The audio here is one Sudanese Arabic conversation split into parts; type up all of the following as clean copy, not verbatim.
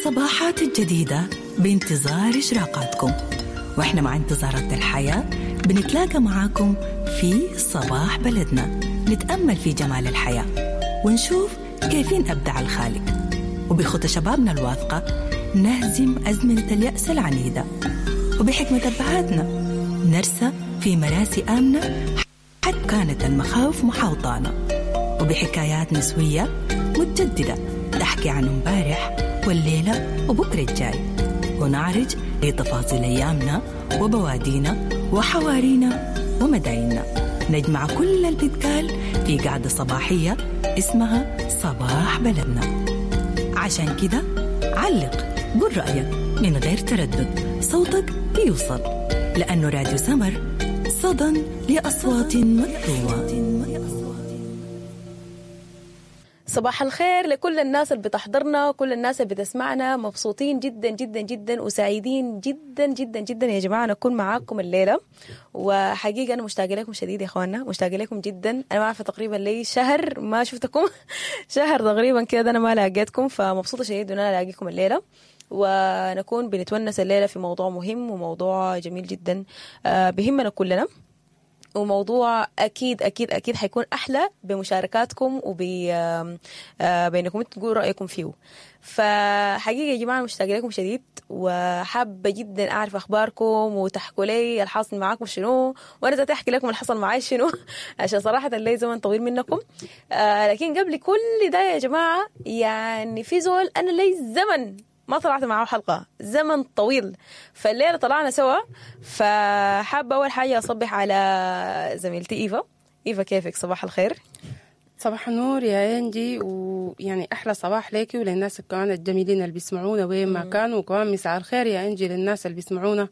الصباحات الجديدة بانتظار إشراقاتكم، وإحنا مع انتظارات الحياة بنتلاقى معاكم في صباح بلدنا، نتأمل في جمال الحياة ونشوف كيفين أبدع الخالق، وبخطى شبابنا الواثقة نهزم أزمنة اليأس العنيدة، وبحكمة أبهاتنا نرسى في مراسي آمنة حتى كانت المخاوف محاوطانا، وبحكايات نسوية متجددة تحكي عن امبارح والليلة وبكرة الجاي، ونعرج لتفاصيل أيامنا وبوادينا وحوارينا ومدايننا. نجمع كل البتقال في قعدة صباحية اسمها صباح بلدنا. عشان كده علق، قول رأيك من غير تردد، صوتك بيوصل، لأنه راديو سمر صدى لأصوات مكتومة. صباح الخير لكل الناس اللي بتحضرنا وكل الناس اللي بتسمعنا. مبسوطين جدا جدا جدا وسعيدين جدا جدا جدا يا جماعة نكون معاكم الليلة. وحقيقة أنا مشتاقة لكم شديد يا إخواننا، مشتاقة لكم جدا. أنا ما عارفة تقريبا لي شهر ما شفتكم شهر تقريبا كده أنا ما لاقيتكم، فمبسوطة شديد إن أنا ألاقيكم الليلة ونكون بنتونس الليلة في موضوع مهم وموضوع جميل جدا بهمنا كلنا، وموضوع أكيد أكيد أكيد حيكون أحلى بمشاركاتكم وبإنكم تقولوا رأيكم فيه. فحقيقة يا جماعة مشتاقة لكم شديد، وحابة جدا أعرف أخباركم وتحكوا لي الحاصل معاكم شنو، وأنا ذاتي أحكي لكم الحصل معاي شنو عشان صراحة لي زمن طويل منكم. لكن قبل كل ده يا جماعة، يعني في زول أنا لي زمن ما طلعت معه حلقة، زمن طويل، فالليلة طلعنا سوا. فحابة أول حاجة أصبح على زميلتي إيفا. إيفا كيفك؟ صباح الخير. صباح النور يا إنجي، ويعني أحلى صباح ليكي وللناس كمان الجميلين اللي بيسمعونا وين ما كانوا، وكمان مساء الخير يا إنجي للناس اللي بيسمعونا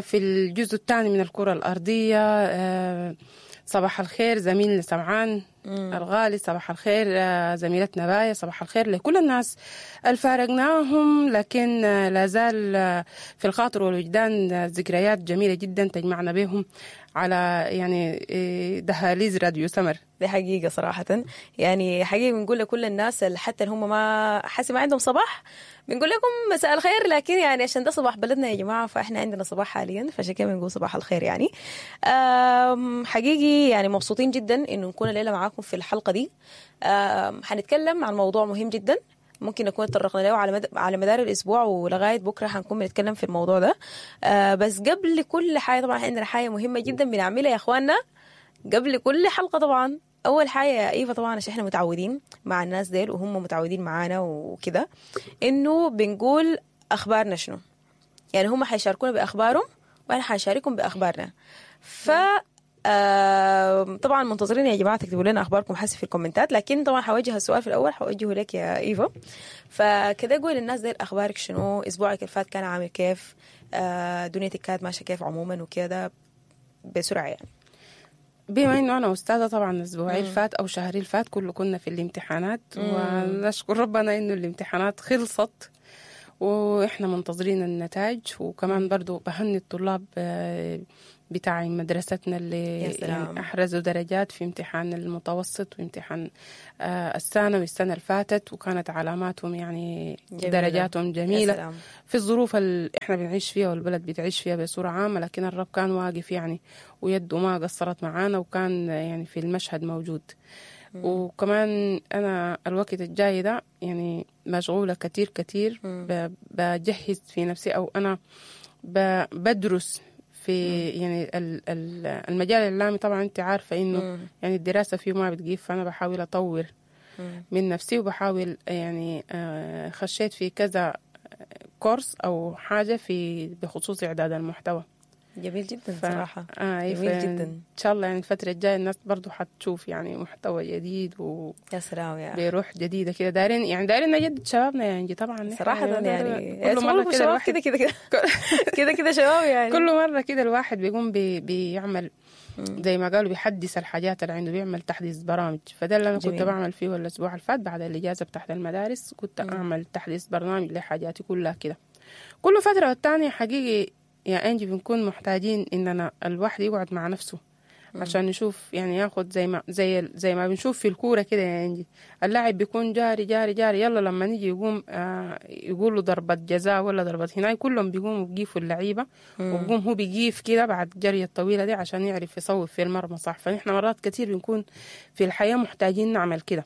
في الجزء الثاني من الكرة الأرضية. صباح الخير زميلنا سمعان الغالي، صباح الخير زميلتنا باية، صباح الخير لكل الناس الفارقناهم لكن لا زال في الخاطر والوجدان ذكريات جميلة جدا تجمعنا بهم على يعني دهاليز راديو سمر. دي حقيقة صراحة، يعني حقيقة بنقول لكل الناس اللي حتى هم ما حاسين ما عندهم صباح، بنقول لكم مساء الخير، لكن يعني عشان ده صباح بلدنا يا جماعة، فإحنا عندنا صباح حاليا، فعشان كده بنقول صباح الخير. يعني حقيقي يعني مبسوطين جدا إنه نكون الليلة معاكم في الحلقة دي. حنتكلم عن موضوع مهم جدا ممكن نكون تطرقنا له على مدار الأسبوع ولغاية بكرة حنكون بنتكلم في الموضوع ده. بس قبل كل حاجة طبعا عندنا حاجة مهمة جدا بنعملها يا إخواننا قبل كل حلقة. طبعا أول حاجة يا إيفا، طبعا عشان إحنا متعودين مع الناس ديل وهم متعودين معانا وكده، إنه بنقول أخبارنا شنو، يعني هم حيشاركونا بأخبارهم وأنا حشاركهم بأخبارنا. ف طبعا منتظرين يا جماعة تكتبوا لنا أخباركم حسب في الكومنتات، لكن طبعا حوجه السؤال في الأول حوجهه لك يا إيفا. فكده قول للناس ديل أخبارك شنو، أسبوعك الفات كان عامل كيف، دنيتك كانت ماشية كيف عموما وكده بسرعة. يعني بما انه انا استاذه طبعا اسبوعي الفات او شهري الفات كله كنا في الامتحانات، ونشكر ربنا انه الامتحانات خلصت واحنا منتظرين النتائج. وكمان برضو بهني الطلاب بتاع مدرستنا اللي يعني احرزوا درجات في امتحان المتوسط وامتحان الثانوي السنة اللي فاتت، وكانت علاماتهم يعني جميلة. درجاتهم جميلة في الظروف اللي احنا بنعيش فيها والبلد بتعيش فيها بصورة عامة، لكن الرب كان واقف يعني ويده ما قصرت معانا، وكان يعني في المشهد موجود. وكمان أنا الوقت الجاي ده يعني مشغولة كتير كتير، بجهز في نفسي أو أنا بدرس في يعني المجال الإعلامي. طبعا أنت عارفة إنه يعني الدراسة فيه ما بتجيب، فأنا بحاول أطور من نفسي، وبحاول يعني خشيت في كذا كورس أو حاجة في بخصوص إعداد المحتوى. جميل جدا صراحة. جميل جدا. إن شاء الله يعني الفترة الجاية الناس برضو حتشوف يعني محتوى جديد و يا سلام يا بروح جديدة كده. دارين يعني دارين نجدد شبابنا يعني طبعا صراحة يعني كل مرة كده الواحد كده كده كده كده شباب يعني كل مرة كده الواحد بيقوم بيعمل زي ما قالوا بيحدث الحاجات اللي عنده، بيعمل تحديث برامج. فده اللي أنا كنت بعمل فيه الأسبوع اللي فات بعد الإجازة بتاعت المدارس، كنت أعمل تحديث برنامج لحاجاتي كلها كده. كل فترة والتانية حقيقي يا أنجي بنكون محتاجين إننا الواحد يقعد مع نفسه عشان نشوف يعني ياخد زي ما بنشوف في الكورة كده يا انجي، اللاعب بيكون جاري جاري جاري، يلا لما نيجي يقوم يقولوا ضربه جزاء ولا ضربه هناك، كلهم بيقوموا بيقيفوا اللعيبة، وبقوم هو بيقيف كده بعد الجري الطويلة دي عشان يعرف يصوب في المرمى صح. فنحن مرات كتير بنكون في الحياة محتاجين نعمل كده،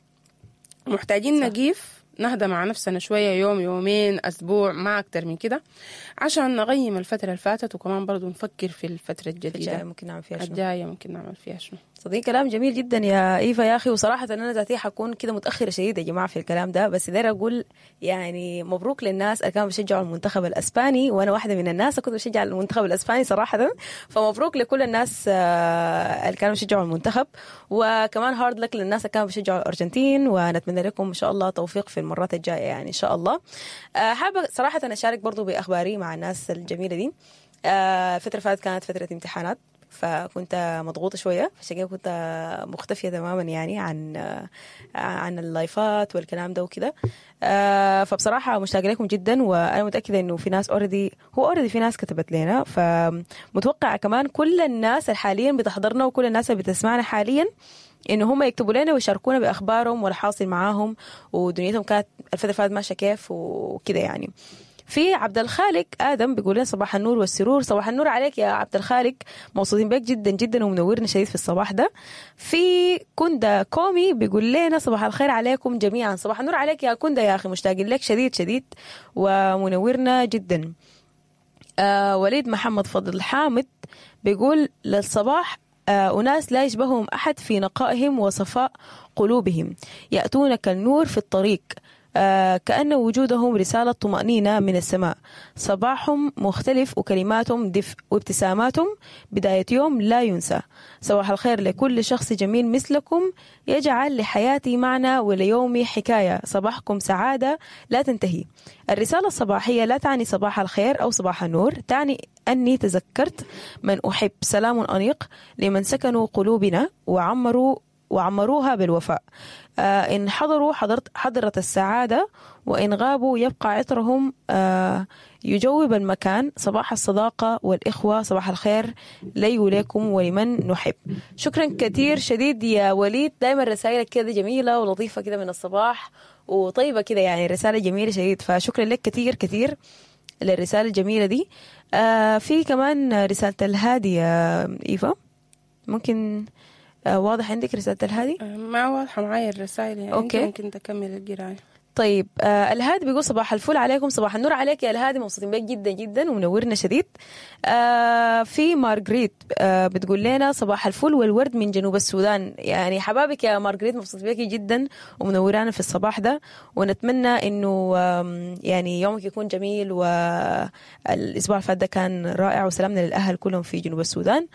محتاجين نقيف نهدى مع نفسنا شوية، يوم يومين أسبوع ما أكتر من كده، عشان نقيم الفترة اللي فاتت، وكمان برضو نفكر في الفترة الجديدة الجاية ممكن نعمل فيها شنو. الجاية ممكن نعمل فيها شنو. صديق كلام جميل جدا يا إيفا يا أخي، وصراحة أنا ذاتي حكون كده متأخرة شديد يا جماعة في الكلام ده، بس داير أقول يعني مبروك للناس اللي كانوا بيشجعوا المنتخب الأسباني، وأنا واحدة من الناس كنت بشجع المنتخب الأسباني صراحة، فمبروك لكل الناس اللي كانوا بيشجعوا المنتخب، وكمان hard luck للناس اللي كانوا بيشجعوا الأرجنتين، ونتمنى لكم إن شاء الله توفيق في المرات الجاية يعني إن شاء الله. حابة صراحة أشارك برضو بأخباري مع الناس الجميلة دي. فترة فاتت كانت فترة امتحانات، فكنت مضغوطة شوية، عشان كده كنت مختفية تماما يعني عن اللايفات والكلام ده وكده. فبصراحة مشتاقة لكم جدا، وأنا متأكدة إنه في ناس already، هو already في ناس كتبت لنا، فمتوقع كمان كل الناس اللي حاليا بتحضرنا وكل الناس اللي بتسمعنا حاليا إنه هم يكتبوا لنا ويشاركونا بأخبارهم والحاصل معاهم ودنيتهم كانت الفترة اللي فاتت ماشية كيف وكده يعني. في عبد الخالق آدم بيقول لنا صباح النور والسرور. صباح النور عليك يا عبد الخالق، مبسوطين بك جدا جدا ومنورنا شديد في الصباح ده. في كندا كومي بيقول لنا صباح الخير عليكم جميعا. صباح النور عليك يا كندا يا أخي، مشتاقين لك شديد شديد ومنورنا جدا. وليد محمد فضل حامد بيقول للصباح أناس لا يشبههم أحد في نقائهم وصفاء قلوبهم، يأتون كالنور في الطريق، كأن وجودهم رسالة طمأنينة من السماء. صباحهم مختلف وكلماتهم دفء وابتساماتهم بداية يوم لا ينسى. صباح الخير لكل شخص جميل مثلكم يجعل لحياتي معنى وليومي حكاية. صباحكم سعادة لا تنتهي. الرسالة الصباحية لا تعني صباح الخير أو صباح النور، تعني أني تذكرت من أحب. سلام أنيق لمن سكنوا قلوبنا وعمروها بالوفاء. إن حضروا حضرت السعادة، وإن غابوا يبقى عطرهم يجوب المكان. صباح الصداقة والإخوة، صباح الخير لي وليكم ولمن نحب. شكرا كثير شديد يا وليد، دايما رسائلك كده جميلة ولطيفة كده من الصباح وطيبة كده، يعني رسالة جميلة شديد، فشكرا لك كثير كثير للرسالة الجميلة دي. في كمان رسالة الهادي يا إيفا، ممكن واضح عندك رسالة الهادي؟ ما واضحة معايا الرسائل يعني. okay. ممكن تكمل القراية. طيب الهادي بيقول صباح الفل عليكم. صباح النور عليك يا الهادي، مبسوطين بك جدا جدا ومنورنا شديد. في مارغريت بتقول لنا صباح الفل والورد من جنوب السودان. يعني حبابك يا مارغريت، مبسوط بك جدا ومنورانا في الصباح ده، ونتمنى انه يعني يومك يكون جميل، والاسبوع اللي فات ده كان رائع، وسلامنا للاهل كلهم في جنوب السودان.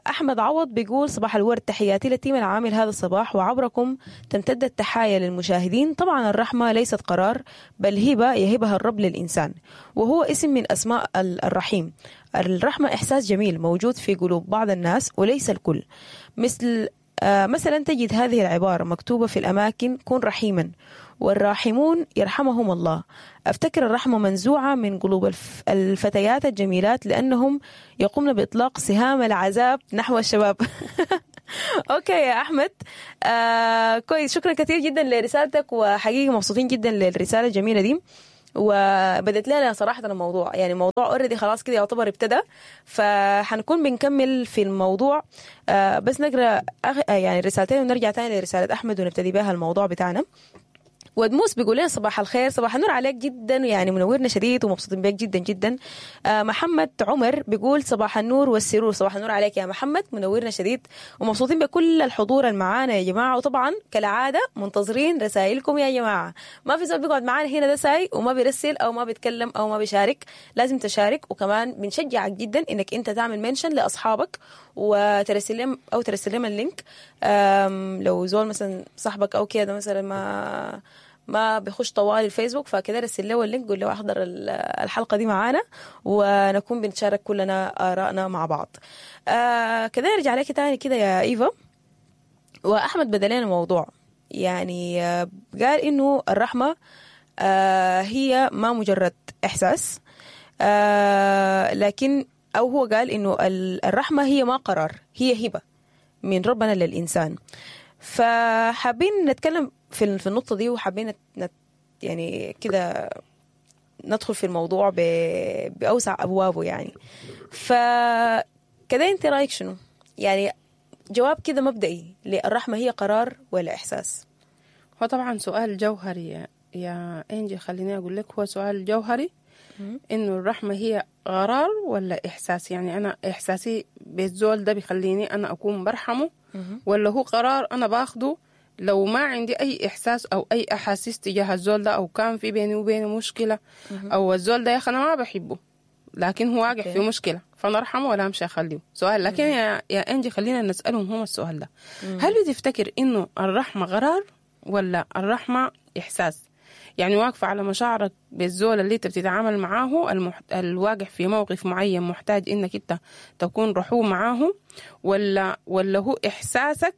أحمد عوض بيقول صباح الورد، تحياتي لل team العامل هذا الصباح، وعبركم تمتد التحايا للمشاهدين. طبعا الرحمة ليست قرار، بل هبة يهبها الرب للإنسان، وهو اسم من أسماء الرحيم. الرحمة إحساس جميل موجود في قلوب بعض الناس وليس الكل. مثل مثلا تجد هذه العبارة مكتوبة في الأماكن: كن رحيما والراحمون يرحمهم الله. أفتكر الرحمة منزوعة من قلوب الفتيات الجميلات لأنهم يقومن بإطلاق سهام العذاب نحو الشباب. okay يا أحمد، كويس، شكرا كثير جدا لرسالتك، وحقيقة مبسوطين جدا للرسالة الجميلة دي، وبدت لنا صراحة الموضوع، يعني الموضوع already خلاص كده يعتبر ابتدى، فحنكون بنكمل في الموضوع. بس نقرأ يعني رسالتين ونرجع تاني لرسالة أحمد ونبتدي بها الموضوع بتاعنا. ودموس بيقول لنا صباح الخير، صباح النور عليك جدا، يعني منورنا شديد ومبسوطين بك جدا جدا. محمد عمر بيقول صباح النور والسرور. صباح النور عليك يا محمد، منورنا شديد ومبسوطين بكل الحضور المعانا يا جماعة. وطبعا كالعادة منتظرين رسائلكم يا جماعة، ما في زول بيقعد معانا هنا ده ساي وما بيرسل أو ما بيتكلم أو ما بيشارك، لازم تشارك. وكمان بنشجعك جدا إنك أنت تعمل mention لأصحابك وترسل لهم أو ترسل لهم ال link. لو زول مثلا صاحبك أو كده مثلا ما بيخش طوال الفيسبوك، فكده رسل له ال link، قول له احضر الحلقة دي معانا ونكون بنتشارك كلنا آرائنا مع بعض. كده نرجع لك تاني كده يا إيفا. وأحمد بدلنا الموضوع، يعني قال إنه الرحمة هي ما مجرد إحساس، لكن أو هو قال إنه الرحمة هي ما قرار، هي هبة. من ربنا للإنسان. فحابين نتكلم في النقطة دي، وحابين يعني كده ندخل في الموضوع بأوسع أبوابه يعني. فكده أنت رأيك شنو؟ يعني جواب كده مبدئي، للرحمة هي قرار ولا إحساس؟ هو طبعا سؤال جوهري يا إنجي، خليني أقول لك هو سؤال جوهري، إنه الرحمة هي قرار ولا إحساس؟ يعني أنا إحساسي بالزول ده بيخليني أنا أكون برحمة، ولا هو قرار أنا باخده لو ما عندي أي إحساس أو أي أحاسيس تجاه الزول ده، أو كان في بيني وبينه مشكلة، أو الزول ده يا أخي أنا ما بحبه لكن هو واقع في مشكلة، فأنا أرحمه ولا أمشي أخليه؟ سؤال. لكن يا إنجي خلينا نسألهم هم السؤال ده، هل بتفتكر إنه الرحمة قرار ولا الرحمة إحساس؟ يعني واقفة على مشاعرك بالزول اللي انت بتتعامل معاه، الواقع في موقف معين محتاج انك انت تكون رحوم معاه، ولا هو احساسك؟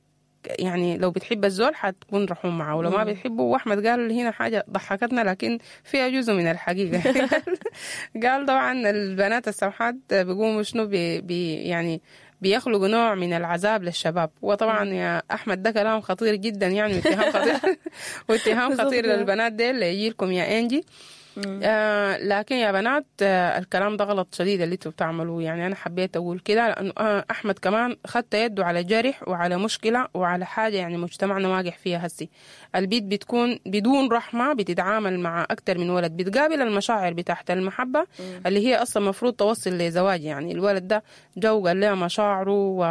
يعني لو بتحب الزول حتكون رحوم معاه، ولو ما بتحبه. واحمد قال هنا حاجة ضحكتنا لكن فيها جزء من الحقيقة. قال طبعا البنات السمحات بيقوموا شنو بي يعني بيخلقوا نوع من العذاب للشباب. وطبعا يا احمد ده كلام خطير جدا، يعني واتهام خطير واتهام خطير للبنات ديل يجيلكم يا انجي. لكن يا بنات الكلام ده غلط شديد اللي انتوا بتعملوه. يعني انا حبيت اقول كده لانه احمد كمان خدت يده على جرح وعلى مشكلة وعلى حاجة يعني مجتمعنا واقع فيها هسي. البيت بتكون بدون رحمه، بتتعامل مع اكتر من ولد، بتقابل المشاعر بتاعت المحبة اللي هي اصلا مفروض توصل لزواج. يعني الولد ده جو قال لها مشاعره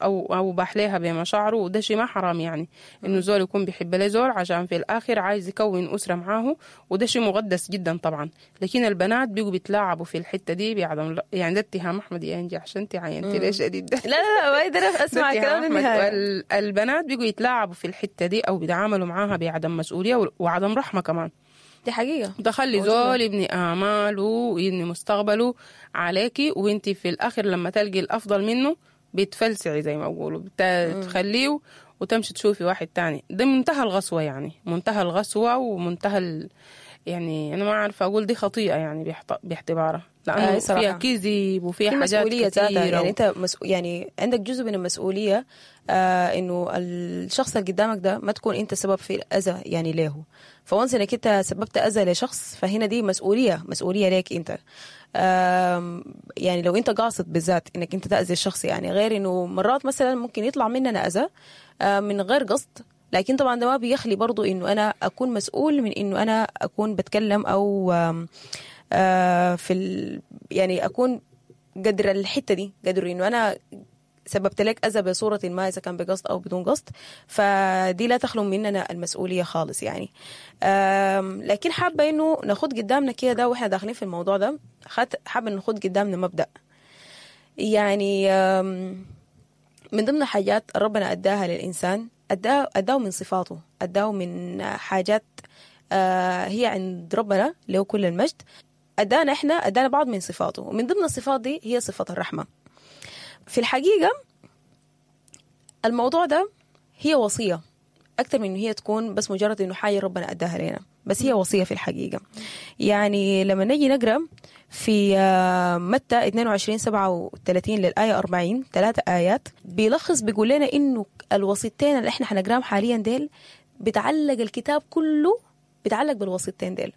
او باح لها بمشاعره، وده شيء ما حرام، يعني انه زول يكون بيحب له زول عشان في الاخر عايز يكون اسره معاه، وده شيء مقدس جدا طبعا. لكن البنات بيجوا بيتلاعبوا في الحتة دي بعدم، يعني ده اتهام احمد يا انجي عشان انت عينتي ليش شديد ده. لا لا ما اقدر اسمع كلام النهاية. البنات بيجوا يتلاعبوا في الحتة دي او بيتعاملوا معاها بعدم مسؤولية وعدم رحمه كمان. دي حقيقة. تخلي زول يبني اماله ويبني مستقبله عليكي، وانت في الاخر لما تلقي الافضل منه بتفلسعي زي ما بيقولوا، بتخليه وتمشي تشوفي واحد تاني. ده منتهى الغسوه، يعني منتهى الغسوه ومنتهى يعني أنا ما عارفة أقول دي خطيئة يعني باعتبارها، لأنه فيها كذب وفيها حاجات كثيرة. يعني أنت يعني عندك جزء من المسؤولية إنه الشخص اللي قدامك ده ما تكون أنت سبب في الأذى يعني له. فونس إنك أنت سببت أذى لشخص فهنا دي مسؤولية ليك أنت. يعني لو أنت قاصد بالذات إنك أنت تأذي الشخص، يعني غير إنه مرات مثلا ممكن يطلع مننا أذى من غير قصد، لكن طبعا ده ما بيخلي برضو إنه أنا أكون مسؤول من إنه أنا أكون بتكلم أو في يعني أكون قدر الحتة دي، قدر إنه أنا سببت لك أذى بصورة ما إذا كان بقصد أو بدون قصد، فدي لا تخلو مننا المسؤولية خالص يعني. لكن حابة إنه ناخد قدامنا كده ده وإحنا داخلين في الموضوع ده، حابة ناخد قدامنا مبدأ يعني من ضمن حاجات ربنا أداها للإنسان، أداه من صفاته، أداه من حاجات هي عند ربنا له كل المجد، أدانا إحنا، أدانا بعض من صفاته، ومن ضمن الصفات دي هي صفة الرحمة. في الحقيقة الموضوع ده هي وصية أكثر من إنه هي تكون بس مجرد إنه حاجة ربنا أداها لنا، بس هي وصية في الحقيقة. يعني لما نجي نقرأ في متى 22:37 للآية 40، 3 آيات بيلخص بيقول لنا إنه الوصيتين اللي إحنا حنقراهم حاليا ديل بتعلق الكتاب كله، بتعلق بالوصيتين ديل.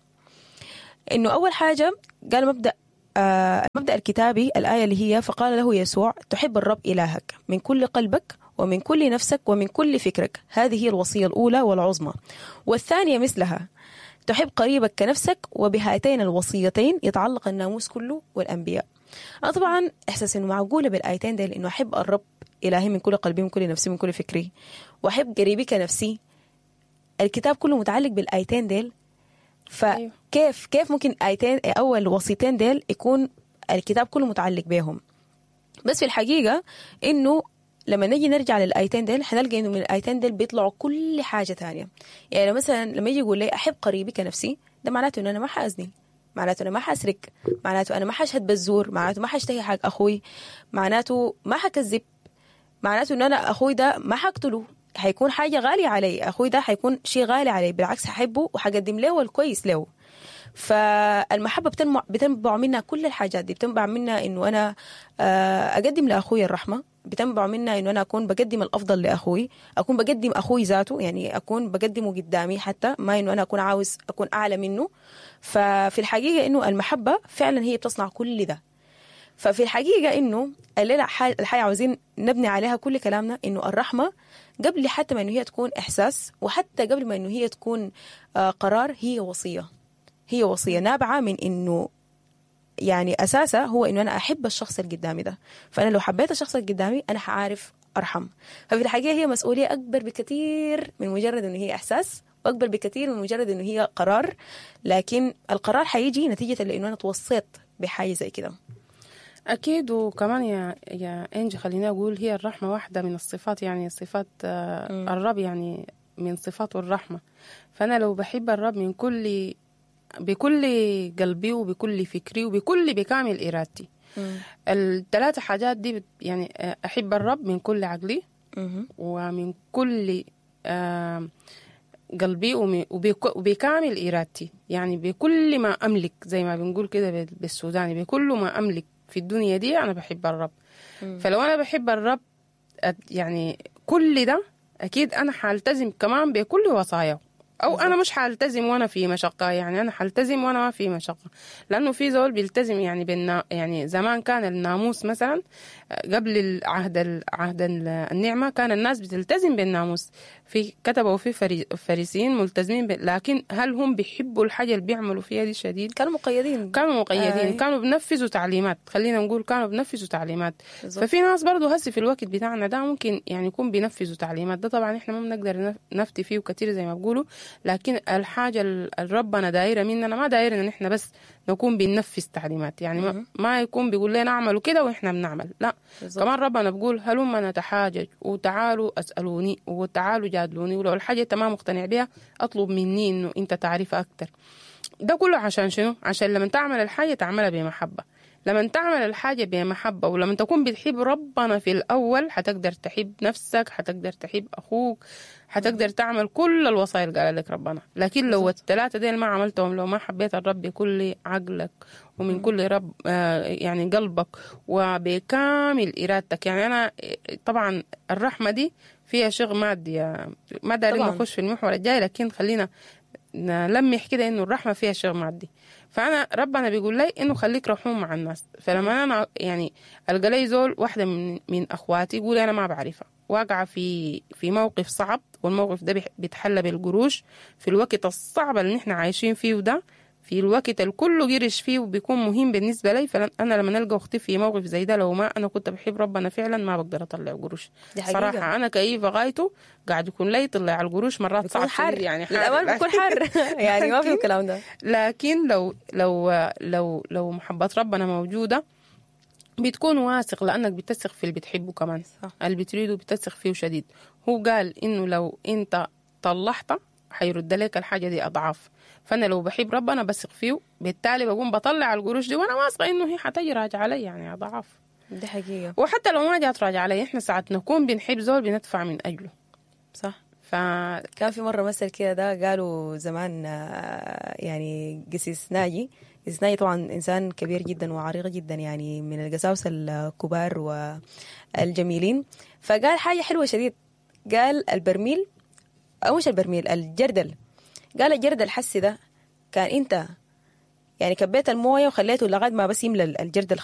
إنه أول حاجة قال مبدأ المبدأ الكتابي، الآية اللي هي فقال له يسوع تحب الرب إلهك من كل قلبك ومن كل نفسك ومن كل فكرك، هذه هي الوصية الأولى والعظمى، والثانية مثلها تحب قريبك كنفسك، وبهاتين الوصيتين يتعلق الناموس كله والأنبياء. أنا طبعا إحساس إنه معقولة بالآيتين ديل، إنه أحب الرب إلهي من كل قلبي من كل نفسي من كل فكري وأحب قريبي كنفسي، الكتاب كله متعلق بالآيتين ديل. فكيف كيف ممكن آيتين أول وصيتين ديل يكون الكتاب كله متعلق بهم؟ بس في الحقيقة إنه لما نجي نرجع للآيتين ديل حنلقى إنه من الآيتين ديل بيطلعوا كل حاجة تانية. يعني مثلا لما يجي يقول لي أحب قريبي كنفسي، ده معناته إنه أنا ما حأزني، معناته أنا ما حأسرق، معناته أنا ما حأشهد بالزور، معناته ما حأشتهي حق أخوي، معناته ما حكذب، معناته إنه أنا أخوي ده ما حقتله، حيكون حاجة غالية علي، أخوي ده حيكون شيء غالي علي، بالعكس ححبه وحقدم له الكويس له. فالمحبة بتنبع منها كل الحاجات دي، بتنبع منها إنه أنا أقدم لأخوي الرحمة، بتنبع منها انه انا اكون بقدم الافضل لاخوي، اكون بقدم اخوي ذاته، يعني اكون بقدمه قدامي، حتى ما انه انا اكون عاوز اكون اعلى منه. ففي الحقيقة انه المحبة فعلا هي بتصنع كل ده. ففي الحقيقة انه الليلة الحاجة عاوزين نبني عليها كل كلامنا، انه الرحمة قبل حتى ما انه هي تكون احساس، وحتى قبل ما انه هي تكون قرار، هي وصية. هي وصية نابعة من انه يعني اساسها هو انه انا احب الشخص اللي قدامي ده. فانا لو حبيت الشخص اللي قدامي انا حعرف ارحم. ففي الحقيقة هي مسؤولية اكبر بكثير من مجرد انه هي احساس، واكبر بكثير من مجرد انه هي قرار. لكن القرار حيجي نتيجة لانه انا توصيت بحاجة زي كده. أكيد. وكمان يا إنجي خليني أقول هي الرحمة واحدة من الصفات، يعني صفات الرب، يعني من صفاته الرحمة. فأنا لو بحب الرب من كل بكل قلبي وبكل فكري وبكل بكامل إرادتي، الثلاثة حاجات دي يعني أحب الرب من كل عقلي ومن كل قلبي وبكامل إرادتي، يعني بكل ما أملك، زي ما بنقول كده بالسوداني، بكل ما أملك في الدنيا دي أنا بحب الرب. فلو أنا بحب الرب يعني كل ده أكيد أنا حالتزم كمان بكل وصاياه. أو أنا مش حالتزم وأنا في مشقة، يعني أنا حالتزم وأنا ما في مشقة، لأنه في زول بيلتزم يعني يعني زمان كان الناموس مثلا قبل العهد عهد النعمة كان الناس بتلتزم بالناموس، في كتبوا وفي فريسيين ملتزمين لكن هل هم بيحبوا الحاجة اللي بيعملوا فيها دي شديد؟ كانوا مقيدين، كانوا مقيدين، كانوا بنفذوا تعليمات، خلينا نقول كانوا بنفذوا تعليمات. بالزبط. ففي ناس برضو هسي في الوقت بتاعنا ده ممكن يعني يكون بينفذوا تعليمات، ده طبعا احنا ما بنقدر نفتي فيه كتير زي ما بيقولوا، لكن الحاجة اللي ربنا دايرة مننا ما دايرة ان احنا بس نكون بننفذ تعليمات، يعني ما يكون بيقول لنا اعملوا كده واحنا بنعمل، لا. بالزبط. كمان ربنا بيقول هلما نتحاجج وتعالوا اسالوني وتعالوا جادلوني، ولو الحاجة انت ما مقتنع بها اطلب مني انه انت تعرفها اكتر. ده كله عشان شنو؟ عشان لما تعمل الحاجة تعملها بمحبة. لما تعمل الحاجة بمحبة ولما تكون بتحب ربنا في الأول حتقدر تحب نفسك، حتقدر تحب أخوك، حتقدر تعمل كل الوصايا اللي قال لك ربنا. لكن لو الثلاثة ديل ما عملتهم، لو ما حبيت الرب بكل عقلك ومن كل رب يعني قلبك وبكامل إرادتك، يعني أنا طبعا الرحمة دي فيها شغل مادي، ما دارين نخش في المحور الجاي، لكن خلينا نلمح كده إنه الرحمة فيها شغل مادي. فأنا ربنا بيقول لي إنه خليك رحوم مع الناس. فلما أنا يعني ألقى لي زول واحدة من أخواتي يقول أنا ما بعرفها، واقعة في موقف صعب، والموقف ده بيتحلى بالقروش في الوقت الصعب اللي نحن عايشين فيه ده، في الوقت الكل قرش فيه وبيكون مهم بالنسبة لي. فأنا لما نلقى أختي في موقف زي ده، لو ما أنا كنت بحب ربنا فعلا ما بقدر أطلع قروش صراحة. أنا كيف غايته قاعد يكون لي طلع القروش مرات صعب حر، يعني حار الأمان بيكون حر يعني ما في الكلام ده. لكن لو لو لو لو محبة ربنا موجودة بتكون واثق، لأنك بتثق في اللي بتحبه كمان، صح. اللي بتريده بتثق فيه شديد. هو قال إنه لو أنت طلعته حيرد لك الحاجة دي أضعاف. فأنا لو بحب ربنا بثق فيه، بالتالي بقوم بطلع القروش دي وأنا واثقة إنه هي حتجي راجعة علي يعني أضعاف. دي حقيقة. وحتى لو ما جات راجعة علي، إحنا ساعات نكون بنحب زول بندفع من أجله، صح. كان في مرة مثل كده ده قالوا زمان، يعني قسيس ناجي، قسيس ناجي طبعا إنسان كبير جدا وعريق جدا، يعني من القساوسة الكبار والجميلين، فقال حاجة حلوة شديد. قال البرميل، أو مش البرميل، الجردل. قال الجردل حسي ده كان أنت يعني كبيت الموية وخليته لغاية ما بس يملى الجردل